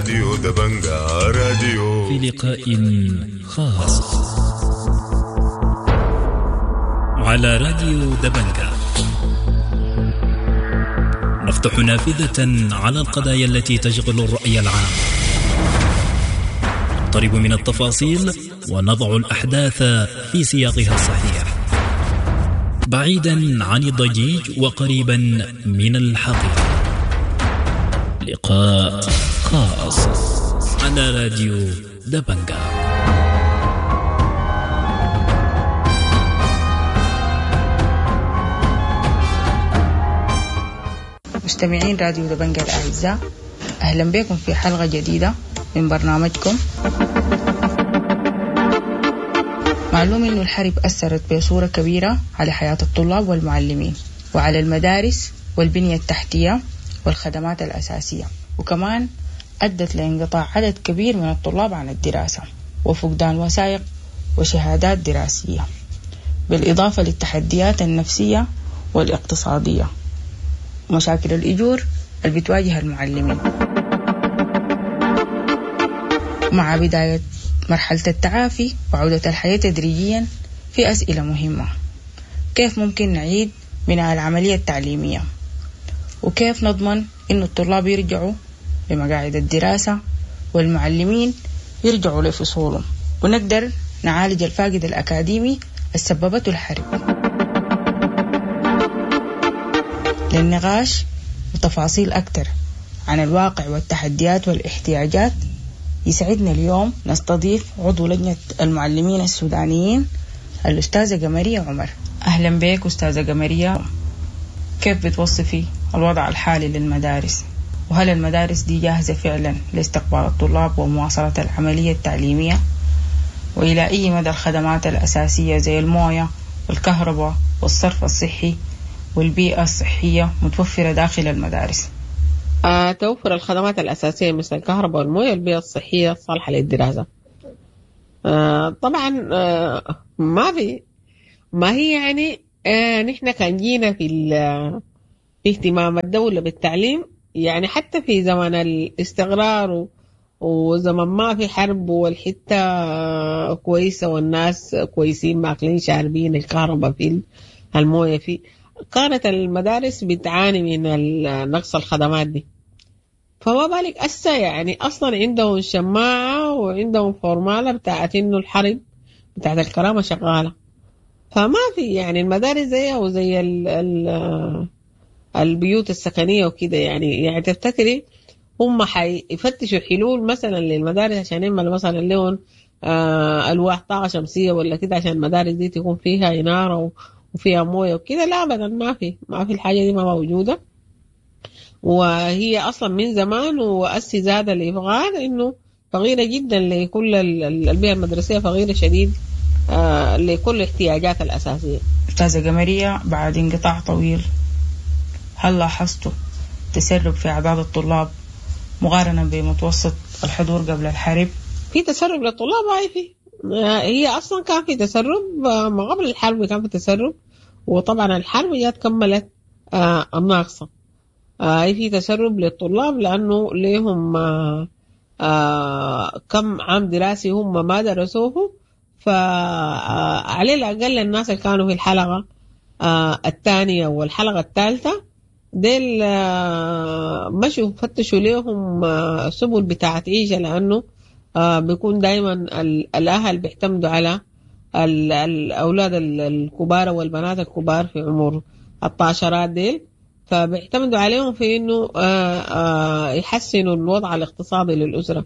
راديو دبنجا راديو في لقاء خاص على راديو دبنجا، نفتح نافذة على القضايا التي تشغل الرأي العام، نقترب من التفاصيل ونضع الأحداث في سياقها الصحيح، بعيدا عن الضجيج وقريبا من الحقيقة. لقاء خاص على راديو دبنجا. مستمعين راديو دبنجا الأعزاء، أهلا بكم في حلقة جديدة من برنامجكم. معلوم إنه الحرب أثرت بصورة كبيرة على حياة الطلاب والمعلمين وعلى المدارس والبنية التحتية والخدمات الأساسية، وكمان أدت لانقطاع عدد كبير من الطلاب عن الدراسة وفقدان وثائق وشهادات دراسية، بالإضافة للتحديات النفسية والاقتصادية ومشاكل الأجور اللي بتواجه المعلمين. مع بداية مرحلة التعافي وعودة الحياة تدريجيا، في أسئلة مهمة: كيف ممكن نعيد بناء العملية التعليمية؟ وكيف نضمن إنه الطلاب يرجعوا لمقاعد الدراسة والمعلمين يرجعوا لفصولهم، ونقدر نعالج الفاقد الأكاديمي السببته الحرب؟ للنقاش وتفاصيل أكثر عن الواقع والتحديات والاحتياجات، يسعدنا اليوم نستضيف عضو لجنة المعلمين السودانيين الأستاذة قمرية عمر. أهلا بك أستاذة قمرية. كيف بتوصفي الوضع الحالي للمدارس؟ وهل المدارس دي جاهزة فعلا لاستقبال الطلاب ومواصلة العملية التعليمية؟ وإلى أي مدى الخدمات الأساسية زي الموية والكهرباء والصرف الصحي والبيئة الصحية متوفرة داخل المدارس؟ توفر الخدمات الأساسية مثل الكهرباء والموية والبيئة الصحية الصالحة للدراسة. طبعا ما في، ما هي يعني نحن كان جينا في اهتمام الدولة بالتعليم، يعني حتى في زمن الاستقرار وزمن ما في حرب والحتة كويسة والناس كويسين ماكلين شاربين، الكهرباء في، الموية في، كانت المدارس بتعاني من نقص الخدمات دي. فما بالك أسا، يعني أصلا عندهم شماعة وعندهم فورمالة بتاعت إنه الحرب بتاعت الكرامة شغالة، فما في يعني المدارس زيها وزي ال ال البيوت السكنية وكده. يعني تفتكري هم حيفتشوا حلول مثلا للمدارس عشان يعملوا مثلا لهم ألواح طاقة شمسية ولا كده عشان المدارس دي تكون فيها إنارة وفيها موية وكده؟ لا أبدا، ما في الحاجة دي ما موجودة، وهي أصلا من زمان وأسي زاد الإفغان إنه فقيرة جدا لكل البيئة المدرسية، فقيرة شديد لكل الاحتياجات الأساسية. أستاذة قمرية، بعد انقطاع طويل هل لاحظتوا تسرب في أعداد الطلاب مقارنة بمتوسط الحضور قبل الحرب؟ في تسرب للطلاب، هاي في، هي أصلا كان في تسرب ما قبل الحرب، كان في تسرب، وطبعا الحرب جات كملت الناقصة. في تسرب للطلاب لأنه ليهم كم عام دراسي هم ما درسوه، فعلى الأقل الناس اللي كانوا في الحلقة الثانية والحلقة الثالثة ديل مشوا فتشوا ليهم سبل بتاعت عيشة، لأنه بيكون دايما الأهل بيعتمدوا على الأولاد الكبار والبنات الكبار في عمر الطاشرات ديل، فبيعتمدوا عليهم في إنه يحسنوا الوضع الاقتصادي للأسرة،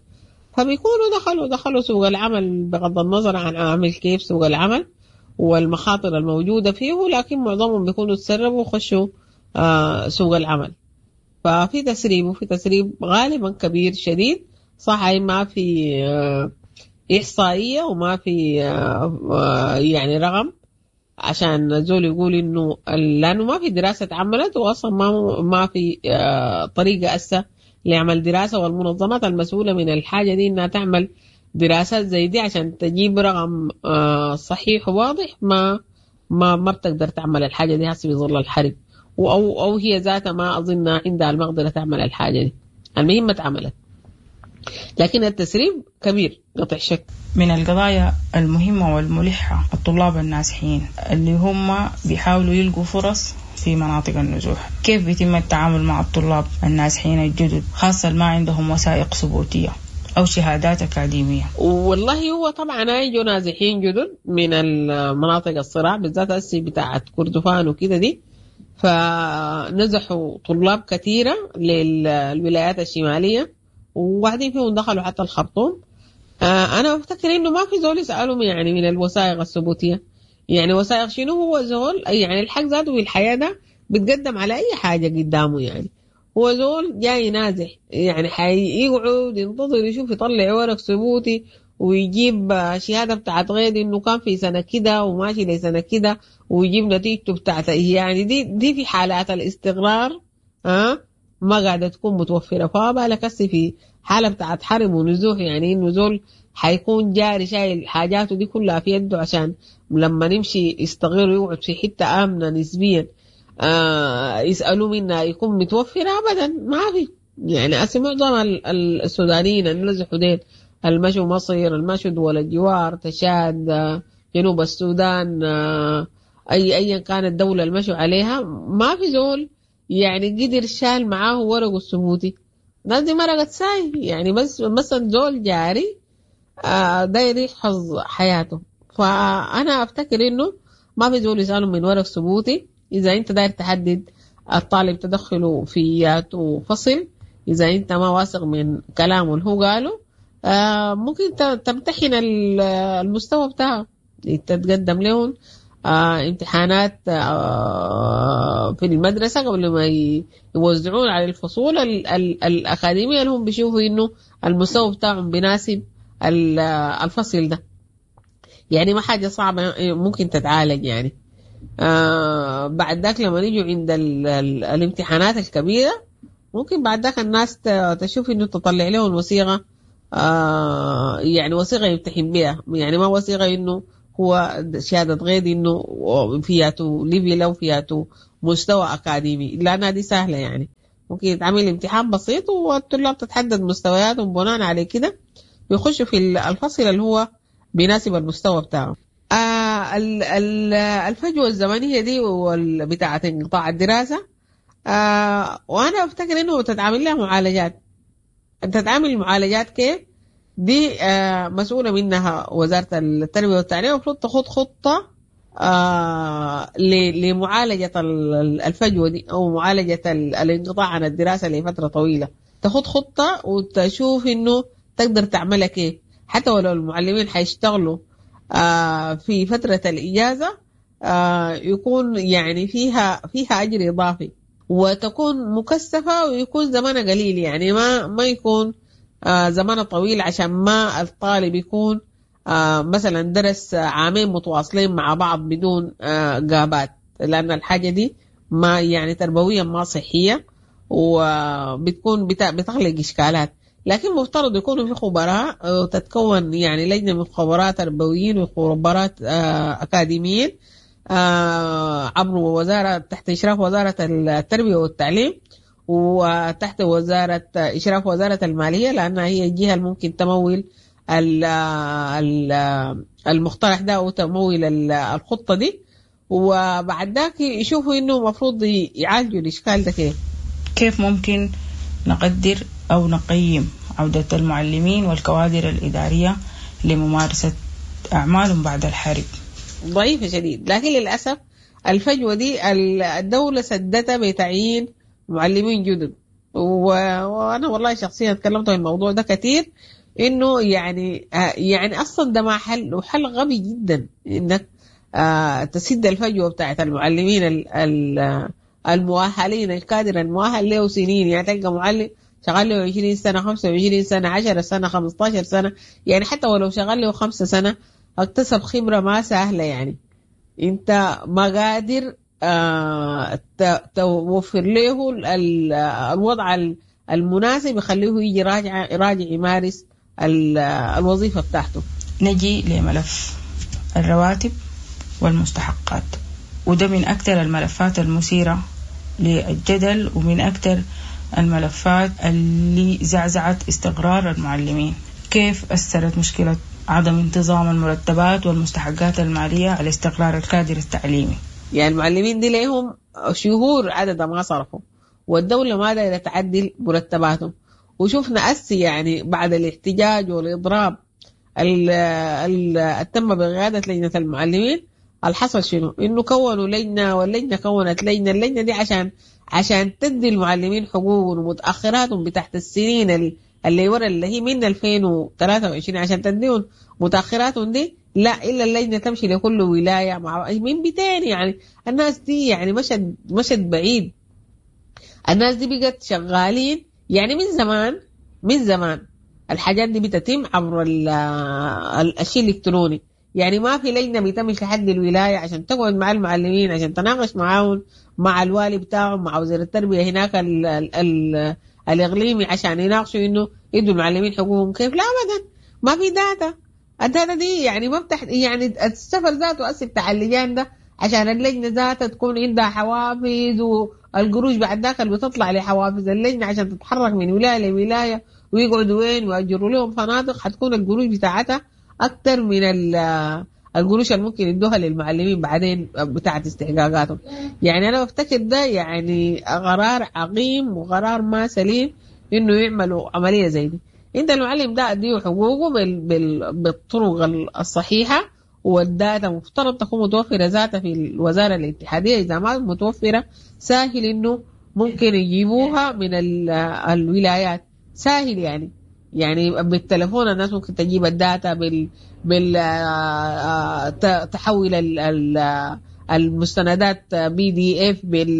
فبيكونوا دخلوا سوق العمل بغض النظر عن عامل كيف سوق العمل والمخاطر الموجودة فيه، لكن معظمهم بيكونوا تسربوا وخشوا سوق العمل. ففي تسريب، وفي تسريب غالبا كبير شديد. صح ما في إحصائية وما في يعني رقم عشان زول يقول إنه، لأنه ما في دراسة اتعملت، وأصلا ما في طريقة أسا لعمل دراسة، والمنظمات المسؤولة من الحاجة دي إنها تعمل دراسات زي دي عشان تجيب رقم صحيح وواضح، ما ما ما بتقدر تعمل الحاجة دي هسه بظل الحرب، أو هي ذاتها ما أظن عندها المقدرة تعمل الحاجة دي. المهم ما اتعملت. لكن التسريب كبير قطع شك. من القضايا المهمة والملحة الطلاب النازحين اللي هم بيحاولوا يلقوا فرص في مناطق النزوح، كيف بيتم التعامل مع الطلاب النازحين الجدد خاصة ما عندهم وثائق ثبوتية أو شهادات أكاديمية؟ والله هو طبعا يجوا نازحين جدد من المناطق الصراع بالذات هسي بتاعت كردفان وكده دي، فنزحوا طلاب كثيرة للولايات الشمالية وواحدين فيهم دخلوا حتى الخرطوم. أنا بفتكر إنه ما في زول يسألهم يعني من الوثائق الثبوتية، يعني وثائق شنو؟ هو زول يعني الحق ذاته في الحياة ده بتقدم على أي حاجة قدامه، يعني هو زول جاي نازح يعني حيقعد ينتظر يشوف يطلع ورق ثبوتي ويجيب شهادة بتاعت غير إنه كان في سنة كده وماشي لسنة كده ويجيب نتيجته بتاعت، يعني دي في حالات الاستقرار ما قاعدة تكون متوفرة. فبالك هسي في حالة بتاعت حرب ونزوح، يعني إنه زول حيكون جاري شايل حاجاته دي كلها في يده عشان لما نمشي يستغل ويقعد في حتة آمنة نسبيا يسألوا منها يكون متوفرة. أبدا ما في، يعني هسي معظم السودانيين اللي نزحوا ديل المشوا مصر، المشوا دول الجوار، تشاد، جنوب السودان، أيا كانت الدولة المشوا عليها، ما في زول يعني قدر شال معاه ورقه الثبوتي. الناس دي مرقت ساي، يعني بس مثلا زول جاري داير يحفظ حياته. فأنا أفتكر إنه ما في زول يسأله من ورق ثبوتي. إذا أنت داير تحدد الطالب تدخله في فصل، إذا أنت ما واثق من كلامه اللي هو قاله ممكن تمتحن المستوى بتاعه، تتقدم لهم امتحانات في المدرسة قبل ما يوزعون على الفصول الأكاديمية اللي هم بيشوفوا إنه المستوى بتاعهم بيناسب الفصل ده. يعني ما حاجة صعبة ممكن تتعالج يعني. بعد ذاك لما يجوا عند الامتحانات الكبيرة ممكن بعد ذاك الناس تشوف إنه تطلع لهم وثيقة، يعني وثيقة يمتحن بها، يعني ما وثيقة إنه هو شهادة غير إنه فياته level أو فياته مستوى أكاديمي، لأنها دي سهلة يعني ممكن يتعمل امتحان بسيط والطلاب تتحدد مستوياتهم بناء على كده ويخشوا في الفصل اللي هو بيناسب المستوى بتاعه. الفجوة الزمنية دي بتاعة انقطاع الدراسة، وأنا أفتكر إنه تتعامل لها معالجات. تتعامل معالجات كيف؟ دي مسؤولة منها وزارة التربية والتعليم، المفروض تخوض خطة لمعالجة الفجوة دي أو معالجة الانقطاع عن الدراسة لفترة طويلة. تخوض خطة وتشوف إنه تقدر تعملها كيف، حتى ولو المعلمين حيشتغلوا في فترة الإجازة يكون يعني فيها أجر إضافي وتكون مكثفة ويكون زمانها قليل، يعني ما يكون زمان طويل عشان ما الطالب يكون مثلا درس عامين متواصلين مع بعض بدون غابات، لأن الحاجة دي ما يعني تربويا ما صحية وبتكون بتخلق إشكالات. لكن مفترض يكونوا في خبراء وتتكون يعني لجنة من خبراء تربويين وخبراء أكاديميين عبر وزارة تحت إشراف وزارة التربية والتعليم وتحت وزارة إشراف وزارة المالية، لأنها هي الجهة الممكن تمول المقترح ده أو تمول الخطة دي، وبعد ذاك يشوفوا إنه مفروض يعالجوا الإشكال ده كيف. كيف ممكن نقدر أو نقيم عودة المعلمين والكوادر الإدارية لممارسة أعمالهم بعد الحرب؟ ضعيفة شديد، لكن للأسف الفجوة دي الدولة سدتها بتعيين معلمين جدد. وأنا والله شخصيا تكلمت عن الموضوع ده كثير، إنه يعني أصلا ده ما حل، وحل غبي جدا إنك تسد الفجوة بتاعت المعلمين المؤهلين، الكادر المؤهل له سنين، يعني تلقى معلم شغال له 20 سنة، 25 سنة، 10 سنة، 15 سنة، يعني حتى ولو شغال له 5 سنة اكتسب خبرة ما سهلة. يعني انت ما قادر توفر له الوضع المناسب يخليه يجي راجع يمارس الوظيفة بتاعته. نجي لملف الرواتب والمستحقات، وده من أكثر الملفات المثيرة للجدل ومن أكثر الملفات اللي زعزعت استقرار المعلمين؟ كيف أثرت مشكلة عدم انتظام المرتبات والمستحقات المالية على استقرار الكادر التعليمي؟ يعني المعلمين دي ليهم شهور عدد ما صرفوا، والدولة ما دايرة تعدل مرتباتهم. وشفنا أسي يعني بعد الاحتجاج والإضراب تم بقيادة لجنة المعلمين، الحصل شنو؟ إنه كونوا لجنة، واللجنة كونت لجنة، اللجنة دي عشان تدي المعلمين حقوقهم ومتأخراتهم بتاعت السنين اللي ورا اللي هي من 2023 عشان تديهم متأخراتهم دي، لا إلا اللجنة تمشي لكل ولاية مع من 200. يعني الناس دي يعني مشت بعيد، الناس دي بقت شغالين يعني من زمان الحاجات دي بتتم عبر الشيء الإلكتروني. يعني ما في لجنة بتمشي لحد الولاية عشان تقعد مع المعلمين، عشان تناقش معاهم، مع الوالي بتاعهم، مع وزير التربية هناك ال ال ال الإقليمي، عشان يناقشوا إنه يدوا المعلمين حقوقهم كيف. لا أبدا، ما في data. ال data دي يعني ما بتح... يعني السفر ذاته أسف بتاع اللجان ده عشان اللجنة ذاتها تكون عندها حوافز، والقروش بعد ذاك اللي بتطلع لحوافز اللجنة عشان تتحرك من ولاية لولاية ويقعدوا وين ويأجروا لهم فنادق، حتكون القروش بتاعتها أكتر من القروش اللي ممكن يدوها للمعلمين بعدين بتاعت استحقاقاتهم. يعني أنا بفتكر ده يعني قرار عقيم وقرار ما سليم إنه يعملوا عملية زي دي. أنت المعلم ده أديه حقوقه بالطرق الصحيحة، والداتا مفترض تكون متوفرة ذاتها في الوزارة الاتحادية، إذا ما متوفرة سهل إنه ممكن يجيبوها من الولايات، سهل يعني بالتلفون الناس ممكن تجيب ال data بال تحول المستندات PDF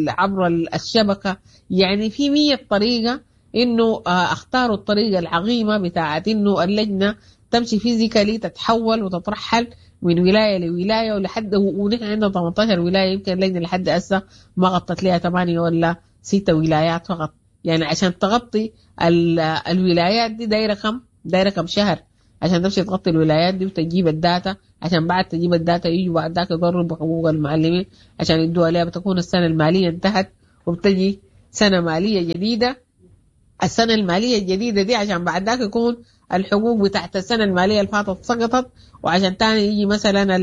عبر الشبكة. يعني في 100 طريقة إنه اختاروا الطريقة العظيمة بتاعت إنه اللجنة تمشي physically، تتحول وتترحل من ولاية لولاية ولحد، ونحن عندنا 18 ولاية، يمكن اللجنة لحد هسه ما غطت لها 8 ولا 6 ولايات فقط. يعني عشان تغطي الولايات دي دايرة كم شهر عشان تمشي تغطي الولايات دي وتجيب ال data، عشان بعد تجيب ال data يجوا بعد ذاك يضربوا حقوق المعلمين عشان يدوها لها. بتكون السنة المالية انتهت وبتجي سنة مالية جديدة. السنة المالية الجديدة دي عشان بعد ذاك يكون الحقوق بتاعت السنة المالية اللي فاتت سقطت، وعشان تاني يجي مثلا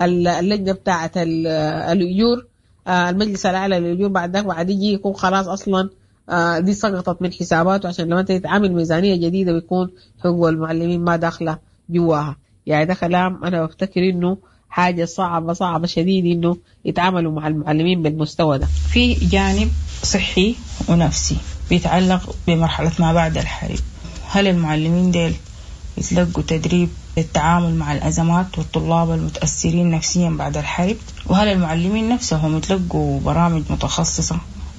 اللجنة بتاعت الأجور، المجلس الأعلى للأجور بعد ذاك بعد يجي يكون خلاص أصلا دي سقطت من حساباته، عشان لما تتعامل ميزانية جديدة بيكون حقوق المعلمين ما داخلة جواها. يعني ده كلام أنا بفتكر إنه حاجة صعبة صعبة شديد إنه يتعاملوا مع المعلمين بالمستوى ده. في جانب صحي ونفسي بيتعلق بمرحلة ما بعد الحرب، هل المعلمين ديل يتلقوا تدريب للتعامل مع الأزمات والطلاب المتأثرين نفسيا بعد الحرب؟ وهل المعلمين نفسهم يتلقوا برامج متخصصة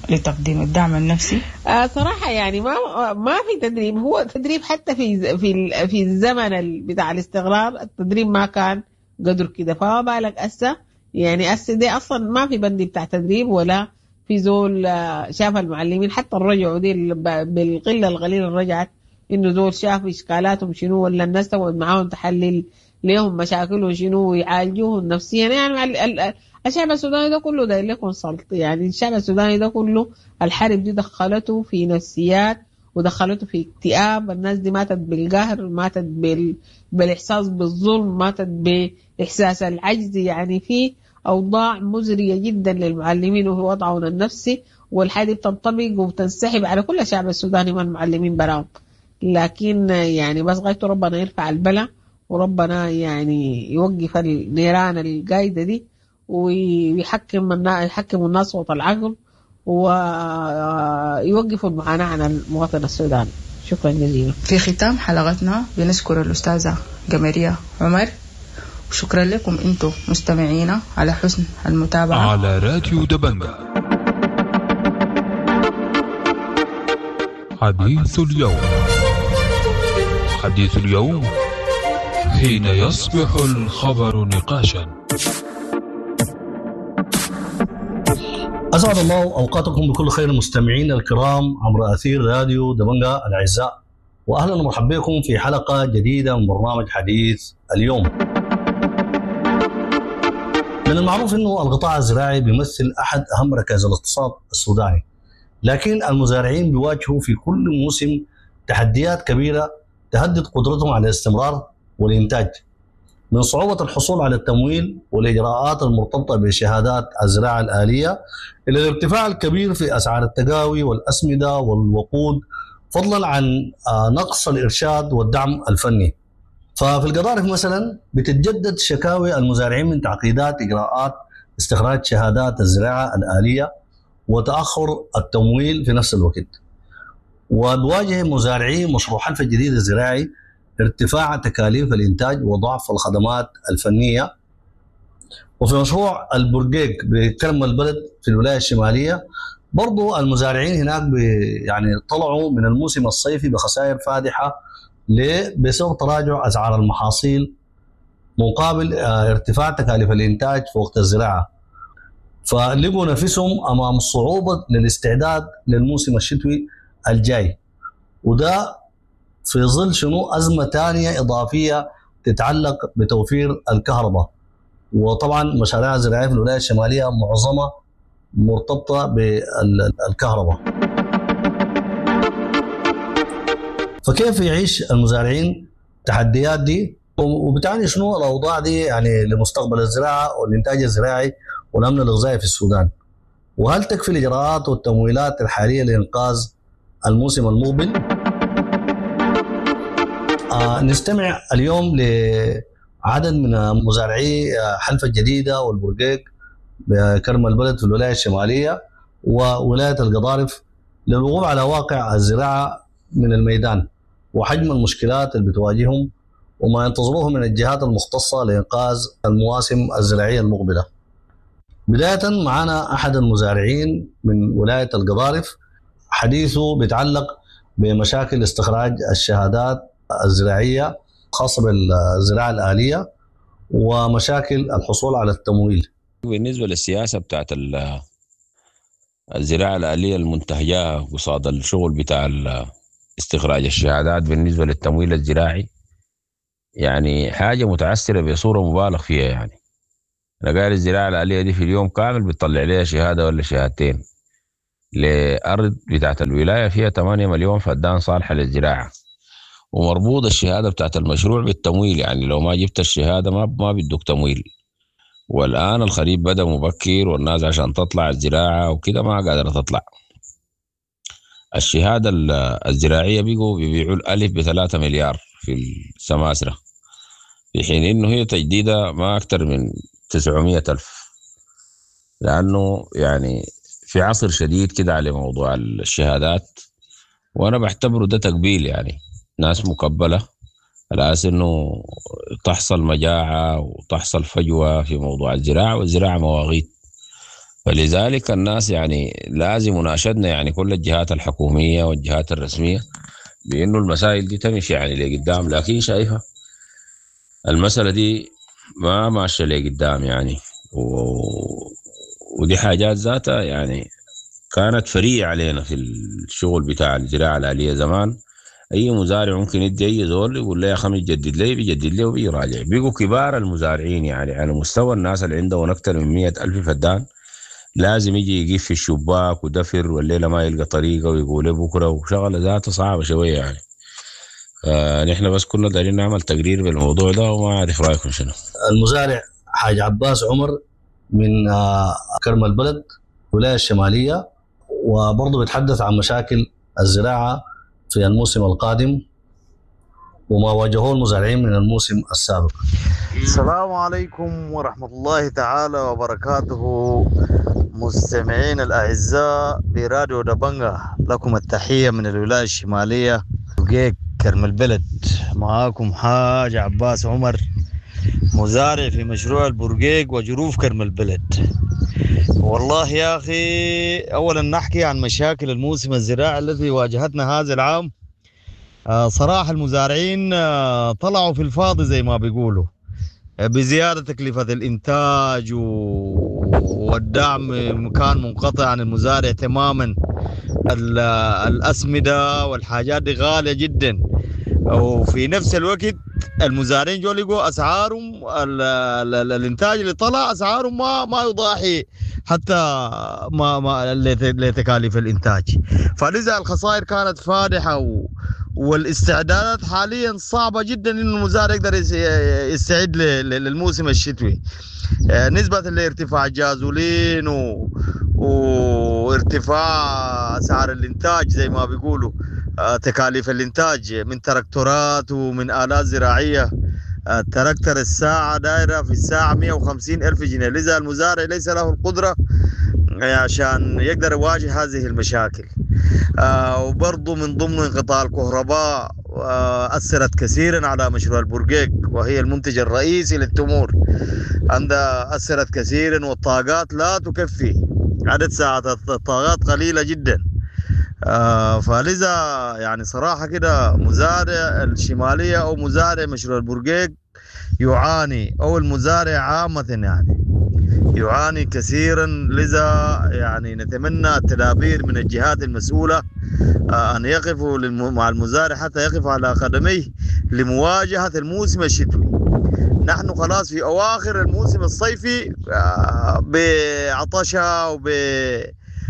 لتقديم الدعم النفسي؟ صراحة يعني ما في تدريب. هو تدريب حتى في في في الزمن بتاع الاستقرار التدريب ما كان قدر كده، فما بالك هسه. يعني هسه دي أصلا ما في بند بتاع تدريب ولا في زول شاف المعلمين حتى الرجعوا دي بالقلة القليلة اللي رجعت، إنه زول شاف إشكالاتهم شنو، ولا الناس تقعد معاهم تحلل ليهم مشاكلهم شنو ويعالجوهم نفسيا. يعني الشعب السوداني ده كله داير له consult. يعني الشعب السوداني ده كله الحرب دي دخلته في نفسيات ودخلته في اكتئاب. الناس دي ماتت بالقهر، ماتت بالإحساس بالظلم، ماتت بإحساس العجز. يعني في أوضاع مزرية جدا للمعلمين وهو وضعهم النفسي، والحاجة بتنطبق وبتنسحب على كل الشعب السوداني من المعلمين براهم. لكن يعني بس غايته ربنا يرفع البلاء، وربنا يعني يوقف النيران القايدة دي، ويحكم الناس صوت العقل، ويوقفوا المعاناة عن المواطن السوداني. شكرا جزيلا. في ختام حلقتنا بنشكر الأستاذة قمرية عمر، وشكرا لكم أنتم مستمعينا على حسن المتابعة على راديو دبنجا. حديث اليوم، حديث اليوم حين يصبح الخبر نقاشا. أسعد الله أوقاتكم بكل خير مستمعين الكرام عبر أثير راديو دبنجا الأعزاء، وأهلا ومرحبا بكم في حلقة جديدة من برنامج حديث اليوم. من المعروف أنه القطاع الزراعي بيمثل أحد أهم ركائز الاقتصاد السوداني، لكن المزارعين بيواجهوا في كل موسم تحديات كبيرة تهدد قدرتهم على الاستمرار والإنتاج، من صعوبة الحصول على التمويل والإجراءات المرتبطة بشهادات الزراعة الآلية إلى الارتفاع الكبير في أسعار التقاوي والأسمدة والوقود، فضلا عن نقص الإرشاد والدعم الفني. ففي القضارف مثلا بتتجدد شكاوي المزارعين من تعقيدات إجراءات استخراج شهادات الزراعة الآلية وتأخر التمويل في نفس الوقت. وبواجه مزارعي مشروع حلفا الجديد الزراعي ارتفاع تكاليف الإنتاج وضعف الخدمات الفنية. وفي مشروع البرقيق بكرم البلد في الولاية الشمالية برضو المزارعين هناك يعني طلعوا من الموسم الصيفي بخسائر فادحة ليه؟ بسبب تراجع أسعار المحاصيل مقابل ارتفاع تكاليف الإنتاج في وقت الزراعة، فلقوا نفسهم أمام صعوبة للاستعداد للموسم الشتوي الجاي، وده في ظل شنو أزمة تانية إضافية تتعلق بتوفير الكهرباء. وطبعا مشاريع الزراعية في الولاية الشمالية معظمها مرتبطة بالكهرباء. فكيف يعيش المزارعين التحديات دي، وبتعني شنو الأوضاع دي يعني لمستقبل الزراعة والإنتاج الزراعي والأمن الغذائي في السودان؟ وهل تكفي الإجراءات والتمويلات الحالية لإنقاذ الموسم المقبل؟ نستمع اليوم لعدد من مزارعي حلفا الجديدة والبرقيق بكرم البلد في الولاية الشمالية وولاية القضارف للوقوف على واقع الزراعة من الميدان وحجم المشكلات اللي بتواجههم وما ينتظروه من الجهات المختصة لإنقاذ المواسم الزراعية المقبلة. بداية معنا أحد المزارعين من ولاية القضارف، حديثه بيتعلق بمشاكل استخراج الشهادات الزراعية خاصة بالزراعة الآلية ومشاكل الحصول على التمويل. بالنسبة للسياسة بتاعت الزراعة الآلية المنتهجة قصاد الشغل بتاع استخراج الشهادات بالنسبة للتمويل الزراعي، يعني حاجة متعسرة بصورة مبالغ فيها. يعني أنا قايل الزراعة الآلية دي في اليوم كامل بتطلع لها شهادة ولا شهادتين لأرض بتاعت الولاية فيها 8 مليون فدان صالحة للزراعة، ومربوط الشهادة بتاعت المشروع بالتمويل. يعني لو ما جبت الشهادة ما بيدوك تمويل. والآن الخريف بدأ مبكر والناس عشان تطلع الزراعة وكده ما قادرة تطلع. الشهادة الزراعية بيقوا بيبيعوا الألف ب3 مليار في السماسرة، في حين إنه هي تجديدها ما أكتر من 900 ألف، لأنه يعني في عصر شديد كده على موضوع الشهادات، وأنا بعتبره ده تقبيل. يعني ناس مقبلة على أساس إنه تحصل مجاعة وتحصل فجوة في موضوع الزراعة، والزراعة مواغيت. فلذلك الناس يعني لازم مناشدنا يعني كل الجهات الحكومية والجهات الرسمية بأنه المسائل دي تمشي يعني لقدام، لكن شايفة المسألة دي ما ماشية لقدام يعني. ودي حاجات ذاتها يعني كانت فرية علينا في الشغل بتاع الزراعة الآلية زمان. أي مزارع ممكن يدي أي زول يقول له يا خمي جدد لي، بيجدد لي وبيراجع. بيقوا كبار المزارعين يعني على مستوى الناس اللي عندهم أكثر من 100,000 فدان لازم يجي يقف في الشباك ودفر والليلة ما يلقى طريقة ويقول بكرة، وشغلة ذاته صعبة شوية يعني. نحن بس كنا دارين نعمل تقرير بالموضوع ده وما أعرف رأيكم شنو. المزارع حاج عباس عمر من كرم البلد الولاية الشمالية، وبرضه بيتحدث عن مشاكل الزراعة في الموسم القادم وما واجهوه المزارعين من الموسم السابق. السلام عليكم ورحمة الله تعالى وبركاته، مستمعين الأعزاء براديو دبنجة، لكم التحية من الولاية الشمالية وجيك كرم البلد. معاكم حاج عباس عمر، مزارع في مشروع البرقيق وجروف كرم البلد. والله يا أخي، أولا نحكي عن مشاكل الموسم الزراعي الذي واجهتنا هذا العام. صراحة المزارعين طلعوا في الفاضي زي ما بيقولوا، بزيادة تكلفة الإنتاج والدعم كان منقطع عن المزارع تماما. الأسمدة والحاجات دي غالية جدا، وفي نفس الوقت المزارعين جو لقوا اسعارهم الانتاج اللي طلع اسعارهم ما يضاحي حتى ما لتكاليف الانتاج. فلذا الخسائر كانت فادحة، والاستعدادات حاليا صعبة جدا انه المزارع يقدر يستعد للموسم الشتوي، نسبه لارتفاع الجازولين وارتفاع اسعار الانتاج زي ما بيقولوا، تكاليف الانتاج من تراكتورات ومن الات زراعية. التراكتر الساعة دايرة في الساعة 150 ألف جنيه، لذا المزارع ليس له القدرة عشان يقدر يواجه هذه المشاكل. وبرضه من ضمن انقطاع الكهرباء أثرت كثيرا على مشروع البرقيق، وهي المنتج الرئيسي للتمور، عندها أثرت كثيرا، والطاقات لا تكفي، عدد ساعات الطاقات قليلة جدا. فلذا يعني صراحة كده مزارع الشمالية أو مزارع مشروع البرقيق يعاني، أو المزارع عامة يعني يعاني كثيرا. لذا يعني نتمنى التدابير من الجهات المسؤولة أن يقفوا مع المزارع حتى يقف على قدميه لمواجهة الموسم الشتوي. نحن خلاص في أواخر الموسم الصيفي بعطشة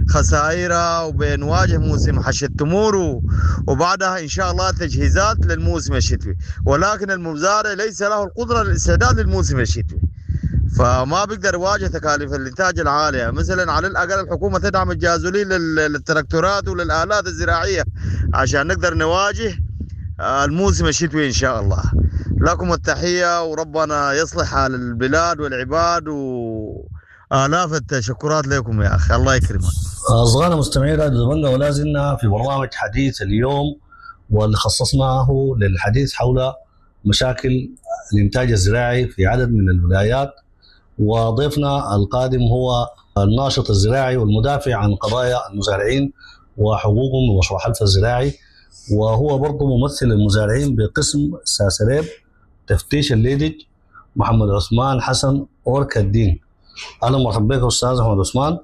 وبخسائرها، وبنواجه موسم حش التمور، وبعدها إن شاء الله تجهيزات للموسم الشتوي، ولكن المزارع ليس له القدرة للاستعداد للموسم الشتوي، فما بيقدر يواجه تكاليف الانتاج العالية. مثلا على الاقل الحكومة تدعم الجازولين للتراكتورات وللالات الزراعية عشان نقدر نواجه الموسم الشتوي ان شاء الله. لكم التحية، وربنا يصلح حال البلاد والعباد، والاف التشكرات لكم يا اخي، الله يكرمك. أصدقائنا مستمعي راديو دبنجا، ولا زلنا في برنامج حديث اليوم واللي خصصناه للحديث حول مشاكل الإنتاج الزراعي في عدد من الولايات. وضيفنا القادم هو الناشط الزراعي والمدافع عن قضايا المزارعين وحقوقهم بمشروع حلفا الزراعي، وهو برضه ممثل المزارعين بقسم ساسريب تفتيش الليدج، محمد عثمان حسن أوركا الدين. أهلا ومرحبا بك أستاذ محمد عثمان،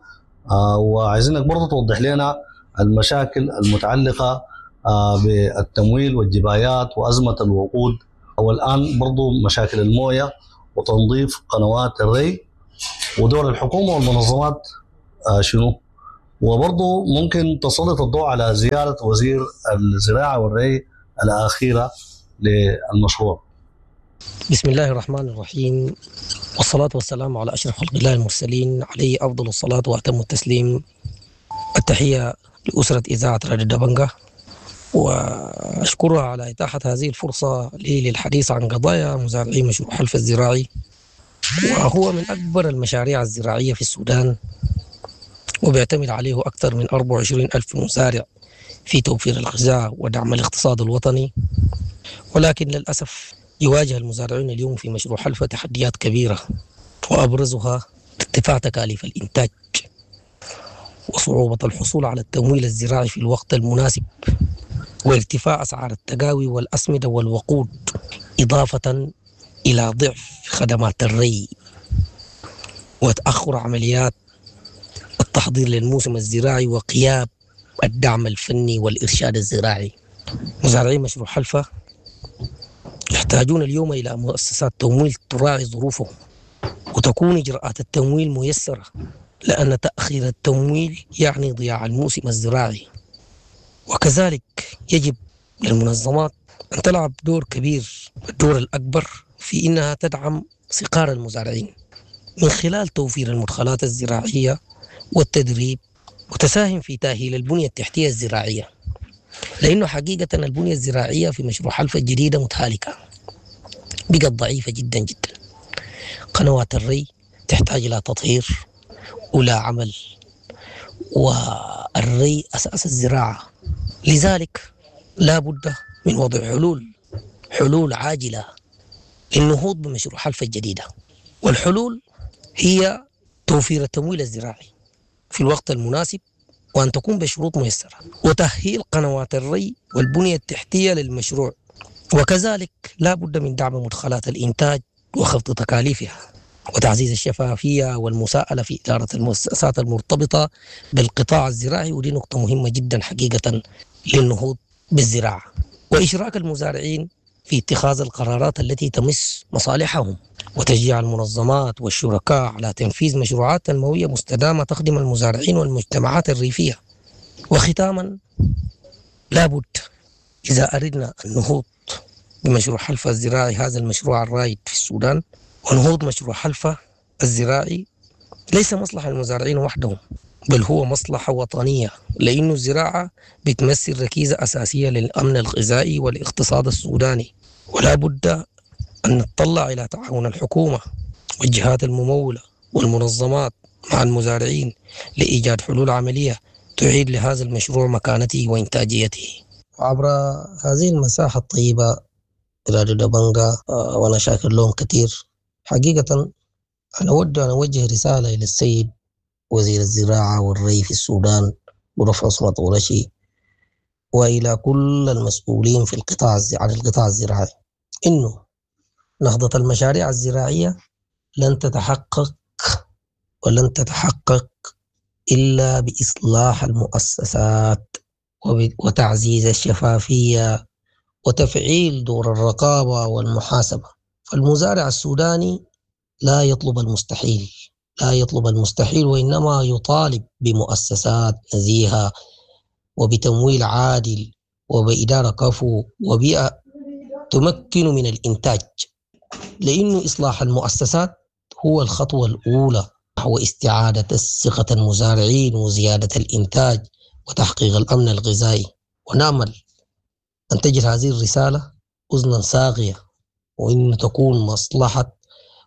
وعايزينك برضه توضح لنا المشاكل المتعلقة بالتمويل والجبايات وأزمة الوقود، والآن برضه مشاكل الموية وتنظيف قنوات الري ودور الحكومة والمنظمات شنو، وبرضه ممكن تسلط الضوء على زيارة وزير الزراعة والري الأخيرة للمشروع. بسم الله الرحمن الرحيم، والصلاة والسلام على أشرف خلق الله المرسلين، عليه أفضل الصلاة وأتم التسليم. التحية لأسرة إذاعة راديو دبنجا، وأشكرها على إتاحة هذه الفرصة لي للحديث عن قضايا مزارعي مشروع حلفا الزراعي، وهو من أكبر المشاريع الزراعية في السودان، وبيعتمد عليه أكثر من 24 ألف مزارع في توفير الغذاء ودعم الاقتصاد الوطني. ولكن للأسف يواجه المزارعون اليوم في مشروع حلفا تحديات كبيرة، وأبرزها ارتفاع تكاليف الإنتاج وصعوبة الحصول على التمويل الزراعي في الوقت المناسب، وارتفاع أسعار التقاوي والأسمدة والوقود، إضافة إلى ضعف خدمات الري وتأخر عمليات التحضير للموسم الزراعي وغياب الدعم الفني والإرشاد الزراعي. مزارعي مشروع حلفا يحتاجون اليوم إلى مؤسسات تمويل تراعي ظروفهم، وتكون إجراءات التمويل ميسرة، لأن تأخير التمويل يعني ضياع الموسم الزراعي. وكذلك يجب للمنظمات أن تلعب دور كبير، الدور الأكبر في إنها تدعم صغار المزارعين من خلال توفير المدخلات الزراعية والتدريب، وتساهم في تأهيل البنية التحتية الزراعية، لأنه حقيقة البنية الزراعية في مشروع حلفا الجديدة متهالكة، بقت ضعيفة جدا جدا. قنوات الري تحتاج إلى تطهير ولا عمل، والري أساس الزراعة، لذلك لا بد من وضع حلول عاجلة للنهوض بمشروع حلفا الجديدة. والحلول هي توفير التمويل الزراعي في الوقت المناسب، وأن تكون بشروط ميسرة، وتأهيل قنوات الري والبنية التحتية للمشروع. وكذلك لا بد من دعم مدخلات الإنتاج وخفض تكاليفها، وتعزيز الشفافية والمساءلة في إدارة المؤسسات المرتبطة بالقطاع الزراعي، ودي نقطة مهمة جدا حقيقة للنهوض بالزراعة، وإشراك المزارعين في اتخاذ القرارات التي تمس مصالحهم، وتشجيع المنظمات والشركاء على تنفيذ مشروعات تنموية مستدامة تخدم المزارعين والمجتمعات الريفية. وختاما، لابد إذا أردنا النهوض بمشروع حلفا الزراعي، هذا المشروع الرائد في السودان، ونهوض مشروع حلفا الزراعي ليس مصلحة للمزارعين وحدهم، بل هو مصلحة وطنية، لأنه الزراعة بتمثل ركيزة أساسية للأمن الغذائي والاقتصاد السوداني. ولا بد أن نتطلع إلى تعاون الحكومة والجهات الممولة والمنظمات مع المزارعين لإيجاد حلول عملية تعيد لهذا المشروع مكانته وإنتاجيته. عبر هذه المساحة الطيبة راديو دبنقا، وأنا شاكر لهم كثير حقيقة. أنا أود أن أوجه رسالة إلى السيد وزير الزراعة والري في السودان بروف عصمت قرشي، وإلى كل المسؤولين في القطاع عن القطاع الزراعي، إنه نهضة المشاريع الزراعية لن تتحقق ولن تتحقق إلا بإصلاح المؤسسات وتعزيز الشفافية وتفعيل دور الرقابة والمحاسبة. فالمزارع السوداني لا يطلب المستحيل، لا يطلب المستحيل، وإنما يطالب بمؤسسات نزيهة وبتمويل عادل وبإدارة كفو وبيئة تمكن من الإنتاج، لأنه إصلاح المؤسسات هو الخطوة الأولى نحو استعادة الثقة المزارعين وزيادة الإنتاج وتحقيق الأمن الغذائي. ونأمل أن تجد هذه الرسالة أذنا صاغية، وأن تكون مصلحة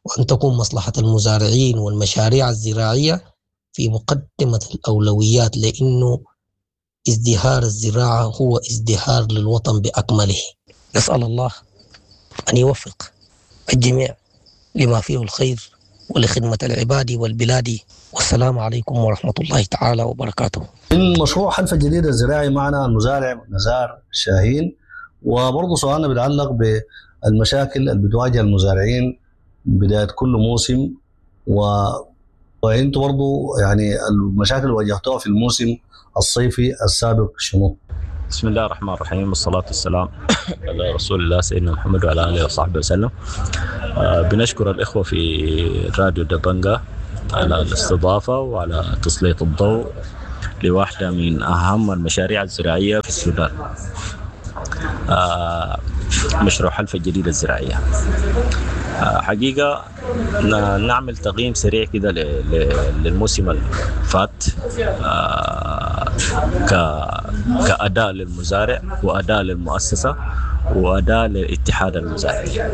وأن تكون مصلحة المزارعين والمشاريع الزراعية في مقدمة الأولويات، لأنه ازدهار الزراعة هو ازدهار للوطن بأكمله. نسأل الله أن يوفق الجميع لما فيه الخير ولخدمة العباد والبلاد. والسلام عليكم ورحمة الله تعالى وبركاته. من مشروع حلفا الجديد الزراعي معنا المزارع نزار شاهين، وبرضه سؤالنا بيتعلق بالمشاكل اللي بتواجه المزارعين بداية كل موسم، وانتم برضه يعني المشاكل اللي واجهتوها في الموسم الصيفي السابق شنو؟ بسم الله الرحمن الرحيم، والصلاة والسلام على رسول الله سيدنا محمد وعلى آله وصحبه وسلم. بنشكر الإخوة في راديو دبنجا على الاستضافة وعلى تسليط الضوء لواحدة من أهم المشاريع الزراعية في السودان، مشروع حلفا الجديدة الزراعية. حقيقة نعمل تقييم سريع كده للموسم الفات كأداء للمزارع وأداء للمؤسسة وأداء للاتحاد المزارعي.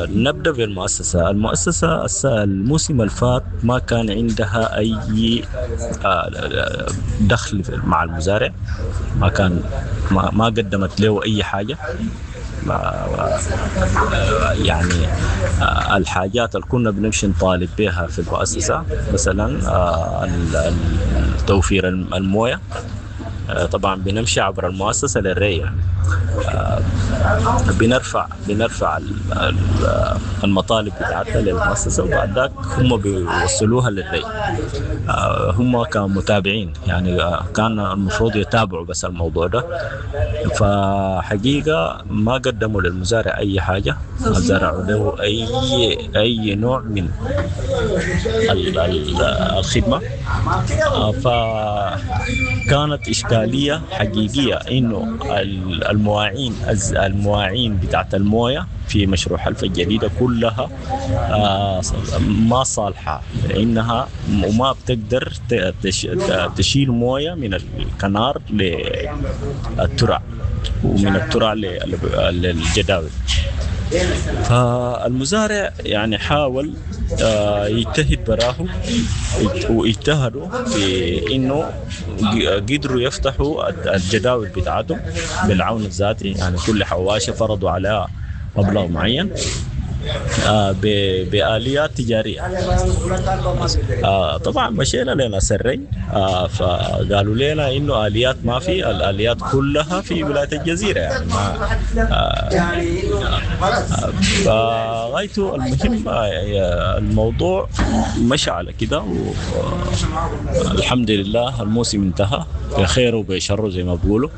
نبدأ بالمؤسسة. المؤسسة الموسم الفات ما كان عندها أي دخل مع المزارع، ما كان ما قدمت له أي حاجة. يعني الحاجات اللي كنا بنمشي نطالب بها في المؤسسة، مثلا توفير الموية، طبعا بنمشي عبر المؤسسة للري، يعني بنرفع المطالب بتاعتنا للمؤسسة، وبعد ذاك هم بيوصلوها للري. هم كمتابعين يعني كان المفروض يتابعوا بس الموضوع ده، فحقيقة ما قدموا للمزارع أي حاجة، ما زرعوا له أي نوع من الخدمة. فكانت إشكالية حقيقية إنه المواعين بتاعت الموية في مشروع حلفا الجديدة كلها ما صالحة، لأنها وما بتقدر تشيل موية من الكنار للترع ومن الترع للجداول. فالمزارع يعني حاول يجتهد براه، واجتهدوا في انه قدروا يفتحوا الجداول بتاعتهم بالعون الذاتي، يعني كل حواشة فرضوا عليها مبلغ معين بآليات تجارية. طبعا مشينا لناس الري، فقالوا لنا انه آليات ما في، الآليات كلها في ولاية الجزيرة يعني ما فغايته المهم الموضوع مشى على كده، والحمد لله الموسم انتهى بخيره وبشره زي ما بيقولوا.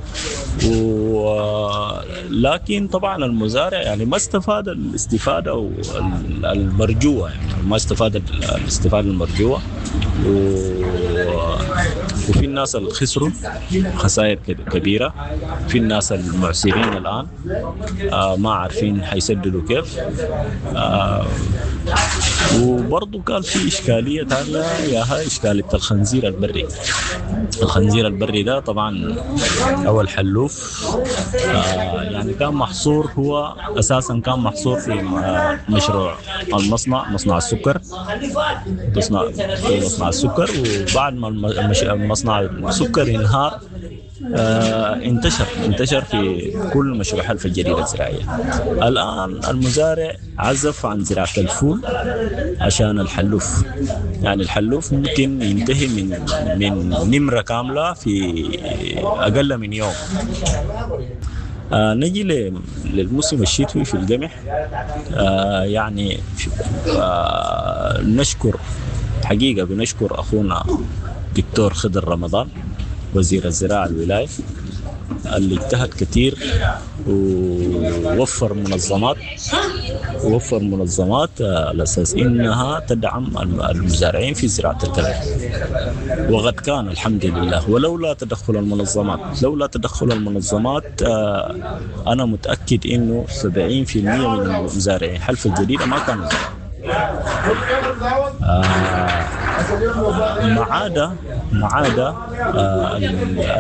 ولكن طبعا المزارع يعني ما استفاد الاستفادة المرجوة، يعني ما استفاد الاستفادة المرجوة، وفي الناس اللي خسروا خسائر كبيرة، في الناس المعسرين الآن ما عارفين حيسددوا كيف. وبرضه كان في إشكالية ثانية، ياها إشكالية الخنزير البري. الخنزير البري ده طبعا أو الحلوف يعني كان محصور، هو أساسا كان محصور في مشروع المصنع، مصنع السكر، في مصنع السكر. وبعد ما مصنع السكر انهار انتشر في كل مشروع حلفا الجديدة الزراعية. الآن المزارع عزف عن زراعة الفول عشان الحلوف، يعني الحلوف ممكن ينتهي من نمرة كاملة في أقل من يوم. نجي للموسم الشتوي في القمح. يعني نشكر حقيقة، بنشكر أخونا دكتور خضر رمضان وزير الزراعة الولاية اللي اجتهد كثير ووفر منظمات على أساس إنها تدعم المزارعين في زراعة القمح، وقد كان الحمد لله. ولولا تدخل المنظمات، أنا متأكد إنه 70% من المزارعين حلفا الجديدة ما كانوا ما عدا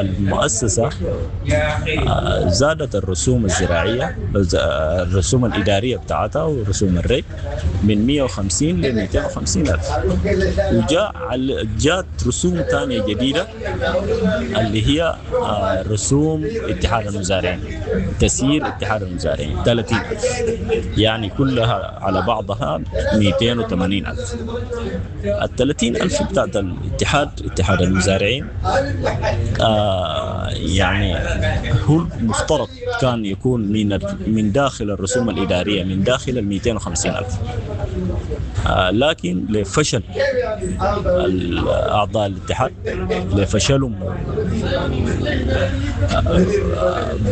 المؤسسة زادت الرسوم الزراعية، الرسوم الإدارية بتاعتها ورسوم الري من 150 ل 250 ألف، وجاء رسوم ثانية جديدة اللي هي رسوم اتحاد المزارعين، تسيير اتحاد المزارعين 30 ألف، يعني كلها على بعضها 280 ألف. ال 30 ألف بتاعت الاتحاد، اتحاد المزارعين، يعني هو المفترض كان يكون من داخل الرسوم الإدارية، من داخل ال 250 ألف، لكن لفشل أعضاء الاتحاد، لفشلهم،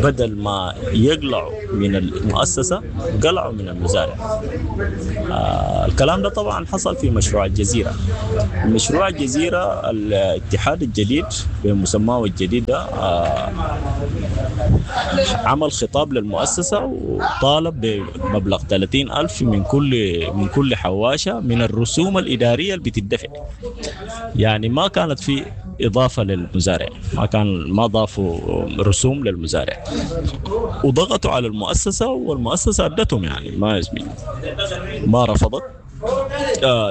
بدل ما يقلعوا من المؤسسة قلعوا من المزارع. الكلام ده طبعا حصل في مشروع الجزيرة. مشروع الجزيرة الاتحاد الجديد بمسماه الجديد ده عمل خطاب للمؤسسة وطالب بمبلغ 30 ألف من كل حواشة من الرسوم الإدارية اللي بتدفع. يعني ما كانت في إضافة للمزارع، ما ضافوا رسوم للمزارع، وضغطوا على المؤسسة والمؤسسة أدتهم، يعني ما رفضت.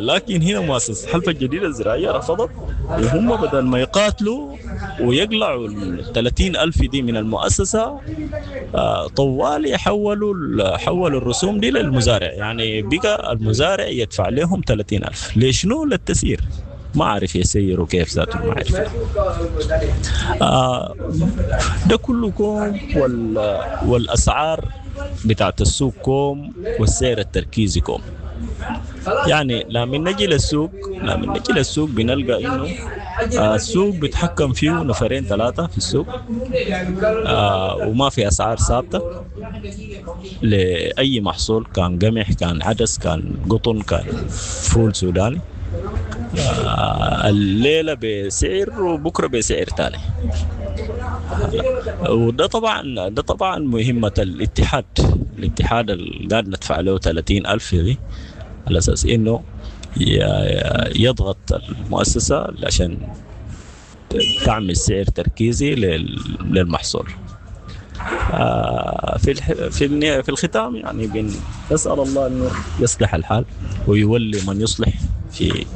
لكن هنا مؤسسة حلفا الجديدة الزراعية رفضت، وهم بدل ما يقاتلوا ويقلعوا ال 30 ألف دي من المؤسسة، طوالي حولوا الرسوم دي للمزارع. يعني بقى المزارع يدفع لهم 30 ألف. ليش؟ نو للتسيير، ما عارف يسيروا كيف ذاته، ما عارف. ده كله كوم، والأسعار بتاعت السوق كوم، والسعر التركيزي كوم. يعني لما نجي للسوق بنلقى انه السوق بيتحكم فيه نفرين ثلاثة في السوق، وما في اسعار ثابتة لأي محصول، كان قمح، كان عدس، كان قطن، كان فول سوداني. الليلة بسعر وبكرة بسعر تاني. وده طبعا ده طبعا مهمة الاتحاد اللي قاعد ندفع له 30 ألف دي على أساس إنه يضغط المؤسسة عشان تعمل سعر تركيزي للمحصول. في الختام يعني بنسأل الله إنه يصلح الحال ويولي من يصلح في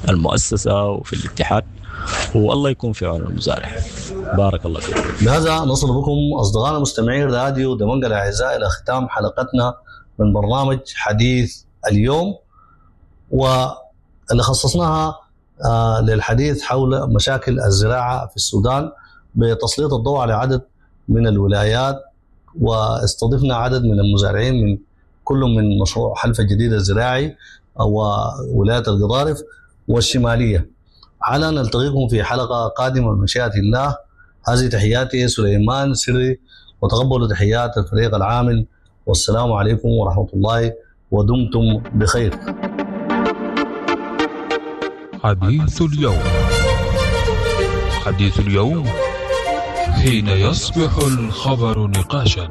المؤسسة وفي الاتحاد، والله يكون في عون المزارع. بارك الله فيكم. بهذا نصل بكم أصدقائنا مستمعين راديو دمنجل الأعزاء إلى ختام حلقتنا من برنامج حديث اليوم، واللي خصصناها للحديث حول مشاكل الزراعة في السودان بتسليط الضوء على عدد من الولايات، واستضفنا عدد من المزارعين من كل من مشروع حلفا الجديد الزراعي وولاية القضارف والشمالية. على نلتقيكم في حلقة قادمة من مشيئة الله. هذه تحياتي سليمان سري، وتقبلوا تحيات الفريق العامل، والسلام عليكم ورحمة الله، ودمتم بخير. حديث اليوم، حديث اليوم حين يصبح الخبر نقاشا.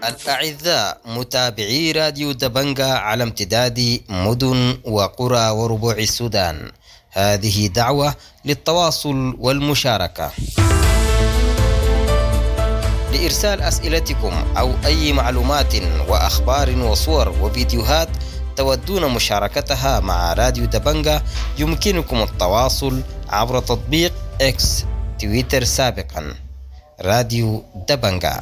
الأعزاء متابعي راديو دبنجا على امتداد مدن وقرى وربوع السودان، هذه دعوة للتواصل والمشاركة لإرسال أسئلتكم أو أي معلومات وأخبار وصور وفيديوهات تودون مشاركتها مع راديو دبنجا. يمكنكم التواصل عبر تطبيق إكس تويتر سابقا راديو دبنجا.